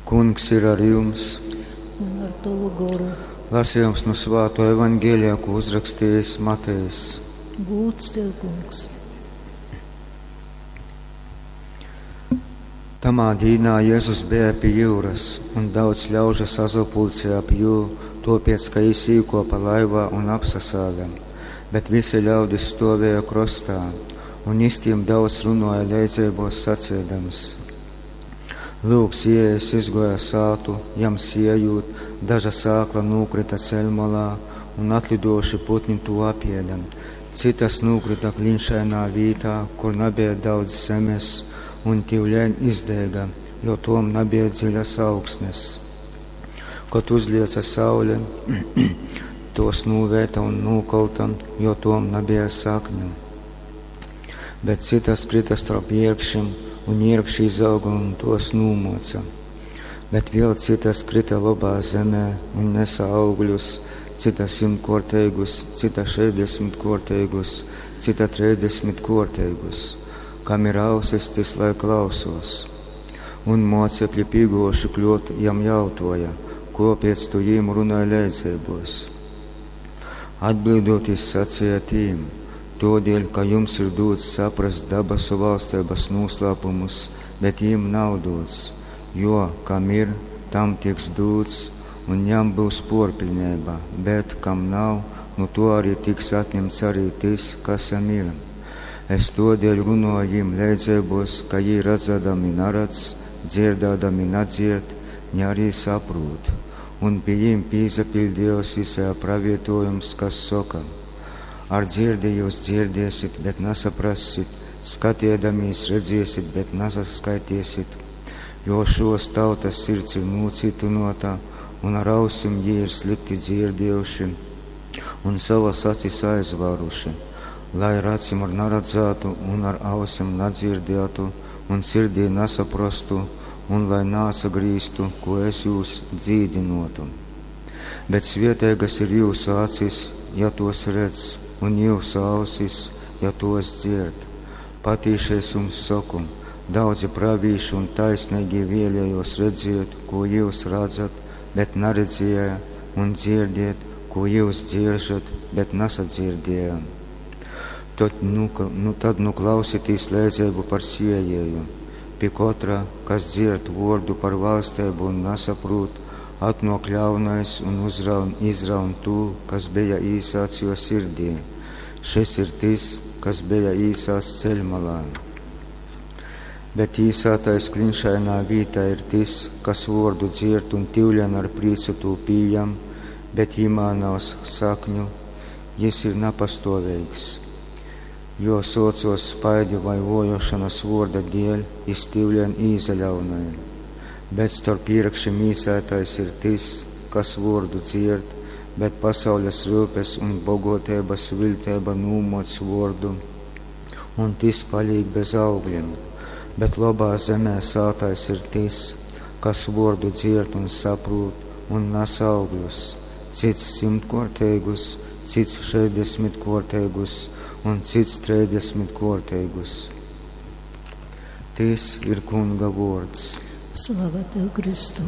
Kungs ir ar jums! Un ar tovu goru. Lasījums no Svāto evaņģēlijā, ko uzrakstījis Matejs. Gūds tev, Kungs! Tamā dīnā Jēzus bija pie jūras, un daudz ļaužu sazopulcēja ap jū, topiec, ka jis īkopa laivā un apsasāda. Bet visi ļaudis stovēja krostā, un jis tiem daudz runoja leidzeibos sacēdams. Lūk, siējs izgoja sātu, jam siejūt, daža sākla nūkrita ceļmalā, un atlidojuši putni to apieda. Citas nūkrita klinšainā vītā, kur nebija daudz zemes, un tivleņ izdēga, jo tom nebija dziļas augsnes. Kad uzlieca saule, tos nūvēta un nūkolta, jo tom nebija sakņu. Bet citas krita starp ierkšiem, un ierkši izauga un tos nūmoca. Bet vēl citas krita labā zemē un nesa augļus, cita simtkorteigus, cita šeisdesmitkorteigus, cita trīsdesmitkorteigus. Kam ir ausis, tis lai klausos. Un mocekļi pīgoši kļot jam jautoja, kopiec tu jīm runāji leidzeibos. Atbildot, jis sacīja tīm, todēļ, ka jums ir dots saprast dabasu valstības noslēpumus, bet jīm nav dots, jo, kam ir, tam tiks dots, un jam būs porpilnība, bet kam nav, nu to arī tiks atņemts arī tis, kas jam ir. Es todēļ runoju jim leidzeibos, ka jī redzēdami naredz, dzirdēdami nadzird, ne arī saprūt. Un pie jim pīzapildījos Isaija pravietojums, kas saka: Ar dzirdi jūs dzirdēsit, bet nesaprassit, skatiedamīs redzēsit, bet nesaskaitiesit, jo šos tautas sirds ir nūcitinota, un ar ausim jī ir slikti dzirdējuši, un savas acis aizvāruši, lai ar acim ar naredzētu, un ar ausim nadzirdētu, un sirdī nesaprastu, un lai nāsagrīztu, ko es jūs dzīdinotu. Bet svietēgas ir jūsu acis, ja tos redz, un jūsu ausis, ja tos dzird. Patīši es jums saku, daudzi pravīši un taisnīgi vēlējos redzēt, ko jūs redzat, bet neredzēja, un dzirdiet, ko jūs dzieržat, bet nesadzirdēja. Tad nu, nu, tad nu klausieties līdzību par siejēju. Pie katra, kas dzird vārdu par valstību un nesaprot, atnāk ļaunais un uzraun, izraun to, kas bija īsāts jo sirdī. Šis ir tas, kas bija īsās ceļmalā. Bet īsātais klinšainā vītā ir tas, kas vārdu dzird un tivļen ar prīcu tū pījam, bet jimā nav sakņu, jis ir napastovīgs. Jo socos spaidi vai vojošanas vorda dēļ, jis tivļen īzaļaunai. Bet starp īrakšiem īsētais ir tas, kas vordu dzird, bet pasaules rūpes un bogotības viltēba nūmoc vordu, un tis palīk bez augļiem. Bet labā zemē sātais ir tis, kas vordu dzird un saprūt un nes augļus, cits simtkorteigus, cits šeisdesmitkorteigus un cits trīsdesmitkorteigus. Tis ir Kunga vords. Slava tev, Kristu!